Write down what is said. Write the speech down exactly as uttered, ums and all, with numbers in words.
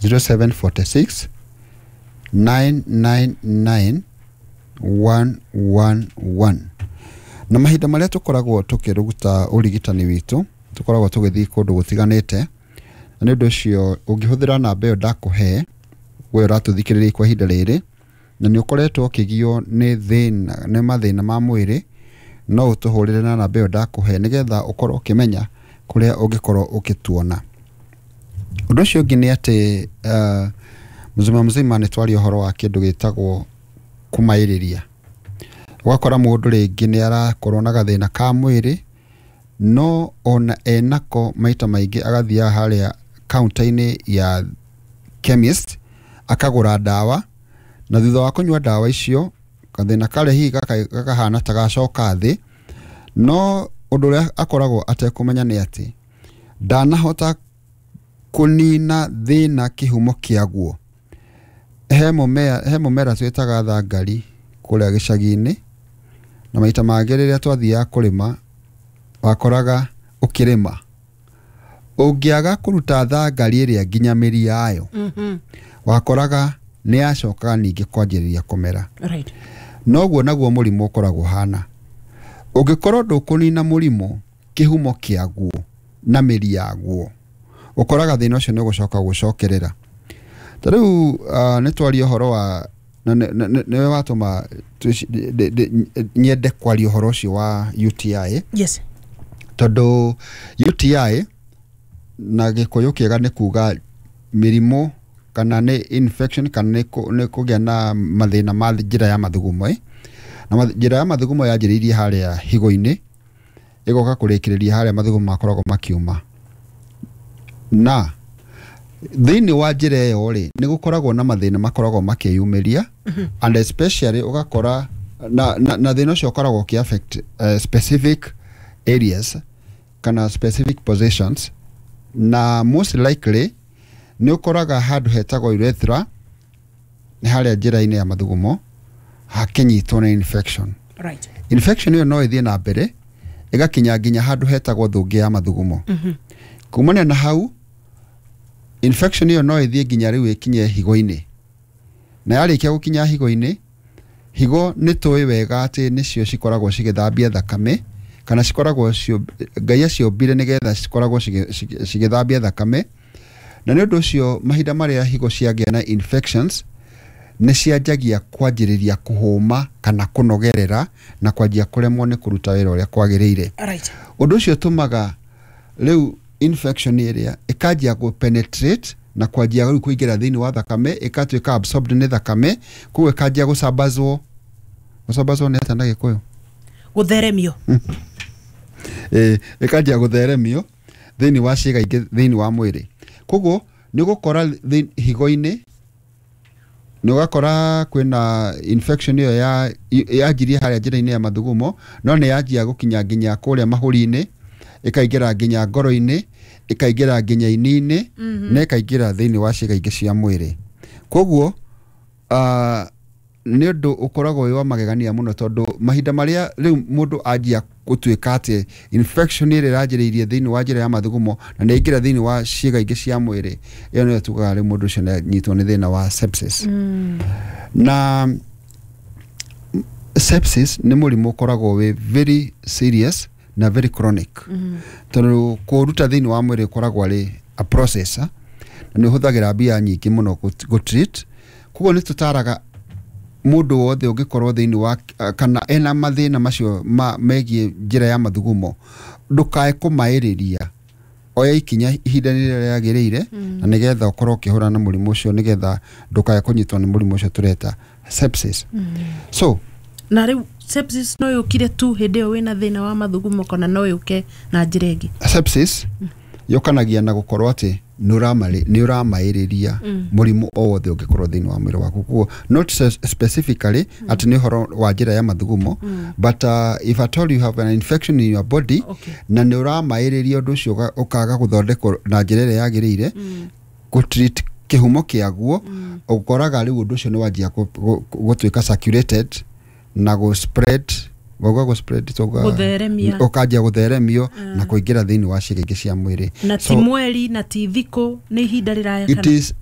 zero seven four six nine nine nine one one one. Na mahinda marĩa tũkoragwo tũkĩruta ũrigitani witũ, tũkoragwo tũgĩthiĩ kũndũ gũtiganĩte, na nĩ ũndũ ũcio ũngĩhũthĩra namba ĩyo ndakũhe, we ũratũthikĩrĩria kwa ihinda rĩrĩ na nĩ ũkoretwo ũkĩgio nĩ thĩna, nĩ mathĩna ma mwĩrĩ, no ũtũhũrĩre na namba ĩyo ndakũhe nĩgetha ũkorwo ũkĩmenya kũrĩa ũngĩkorwo ũkĩtuona. Ũndũ ũcio ũngĩ nĩ atĩ uh, mzima mzima nĩ twaria ũhoro wa kĩndũ gĩtagwo kũmaĩrĩria. Ũgakora mũndũ rĩngĩ nĩ arakorwo na gathĩna ka mwĩrĩ, no ona enako maita maingĩ agathiaga harĩa counter-inĩ ya chemist akagũra ndawa, na thutha wa kũnyua ndawa icio gathĩna karĩa hihi gaka- gakahana ta gacoka thĩ. No ũndũ ũrĩa akoragwo atekũmenya nĩ atĩ ndanahota kũnina thĩna kĩhumo kĩaguo. He mũmera, he mũmera twĩtaga thangari kũrĩa gĩcagi-inĩ, na maita mangĩ rĩrĩa twathiaga kũrĩma wakoraga ũkĩrĩma ũngĩaga kũruta thangari ĩrĩa nginya mĩri yayo, Mhm. wakoraga nĩ yacokaga ningĩ kwanjĩrĩria kũmera. Right. Noguo naguo mũrimũ ũkoragwo hana, ũngĩkorwo ndũkũnina mũrimũ kĩhumo kĩaguo na mĩri yaguo, ũkoraga thĩna ũcio nĩ ũgũcoka gũcokerera. Ta rĩu uh, nĩ twaria ũhoro wa na nĩ- nĩ- nĩ- nĩwe watũma twĩci- ndĩ- ndĩ- nyende kwaria ũhoro ũcio wa U T I, Yes. tondũ U T I na Gĩkũyũ kĩega nĩ kuga mĩrimũ kana nĩ infection kana nĩ kũ- nĩ kũgĩa na mathĩna ma njĩra ya mathugumo, ĩ. Na math- njĩra ya mathugumo yanjĩrĩirie harĩa higo-inĩ, ĩgoka kũrĩkĩrĩria harĩa mathugumo makoragwo makiuma. Na thĩinĩ wa njĩra ĩyo rĩ, nĩ gũkoragwo na mathĩna makoragwo makĩyumĩria, and especially ũgakora na, na, na thĩna ũcio ũkoragwo ũkĩ affect uh, specific areas kana specific positions, na most likely nĩ ũkoraga handũ hetagwo urethra, nĩ harĩa njĩra-inĩ ya mathugumo, hakĩnyitwo nĩ infection. Right. Infection ĩyo no ĩthiĩ na mbere ĩgakinya nginya handũ hetagwo thũngĩ ya mathugumo. Mhm. Kumania na hau, infection ĩyo no ĩthiĩ nginya rĩu ĩkinye higo-inĩ, na yarĩkia gũkinya higo-inĩ, higo nĩ tũĩ wega atĩ nĩcio cikoragwo cigĩthambia thakame, kana cikoragwo cio Ngai aciũmbire nĩgetha cikoragwo cigĩ- cigĩ- cigĩthambia thakame. Na nĩ ũndũ ũcio mahinda marĩa higo ciagĩa na infections, nĩ cianjagia kwanjĩrĩria kũhũma kana kũnogerera na kwanjia kũremwo nĩ kũruta wĩra ũrĩa kwagĩrĩire. Right. Ũndũ ũcio ũtũmaga rĩu infection ĩrĩa ĩkanjia gũ penetrate na kwanjia rĩu kũingĩra thĩinĩ wa thakame, ĩgatuĩka absorbed nĩ thakame, koguo ĩkanjia gũcambazwo. Gũcambazwo nĩ atĩa na Gĩkũyũ? Gũtheremio. Ĩ, ĩkanjia gũtheremio thĩinĩ wa ciĩga ingĩ thĩinĩ wa mwĩrĩ. Koguo nĩ ũgũkora thĩ- higo-inĩ nĩ ũgakora kwĩna infection ĩyo ya yanjirie harĩa njĩra-inĩ ya mathugumo, no nĩ yanjia gũkinya nginya kũrĩa mahũri-inĩ, ĩkaingĩra nginya ngoro-inĩ, ĩkaingĩra nginya ini-inĩ, na ĩkaingĩra thĩinĩ wa ciĩga ingĩ cia mwĩrĩ. Koguo uh, nĩ ũndũ ũkoragwo wĩ wa magegania mũno, tondũ mahinda marĩa rĩu mũndũ anjia gũtuĩka atĩ infection ĩrĩa ĩranjĩrĩirie thĩinĩ wa njĩra ya mathugumo na nĩ yaingĩra thĩinĩ wa ciĩga ingĩ cia mwĩrĩ, ĩyo nĩyo tugaga rĩu mũndũ ũcio nĩ anyitwo nĩ thĩna wa sepsis. Na sepsis nĩ mũrimũ ũkoragwo wĩ very serious na very chronic, tondũ kũũruta thĩinĩ wa mwĩrĩ ũkoragwo arĩ a process, ah, na nĩ ũhũthagĩra mbia nyingĩ mũno gũ- gũ treat. Koguo nĩ tũtaraga mũndũ wothe ũngĩkorwo thĩinĩ wa kana ena mathĩna macio ma megiĩ njĩra ya mathugumo, ndũkae kũmaĩrĩria, oya ikinya ihinda rĩrĩa rĩagĩrĩire na nĩgetha ũkorwo ũkĩhũrana na mũrimũ ũcio, nĩgetha ndũkae kũnyitwo nĩ mũrimũ ũcio tũreta sepsis. So Na rĩu sepsis no yũkire tu hĩndĩ ĩyo wĩna thĩna wa mathugumo, kana no yũke na njĩra ĩngĩ? Sepsis yũkanagia na gũkorwo atĩ nĩ ũramarĩ- nĩ ũramaĩrĩria mũrimũ o wothe ũngĩkorwo thĩinĩ wa mwĩrĩ waku. Koguo not se- specifically atĩ nĩ ũhoro wa njĩra ya mathugumo, but uh, if at all you have an infection in your body Okay. na nĩ ũramaĩrĩria ũndũ ũcio ũga- ũkaga gũthondekwo na njĩra ĩrĩa yagĩrĩire, gũtreat kĩhumo kĩaguo, ũkoraga rĩu ũndũ ũcio nĩ wanjia gũ- gũ- gũtuĩka circulated na gũ spread, wauga gũ spread, twauga Gũtheremia. Ũkanjia gũtheremio na kũingĩra thĩinĩ wa ciĩga ingĩ cia mwĩrĩ. Na ti mweri na ti thikũ, nĩ ihinda rĩraya It kana is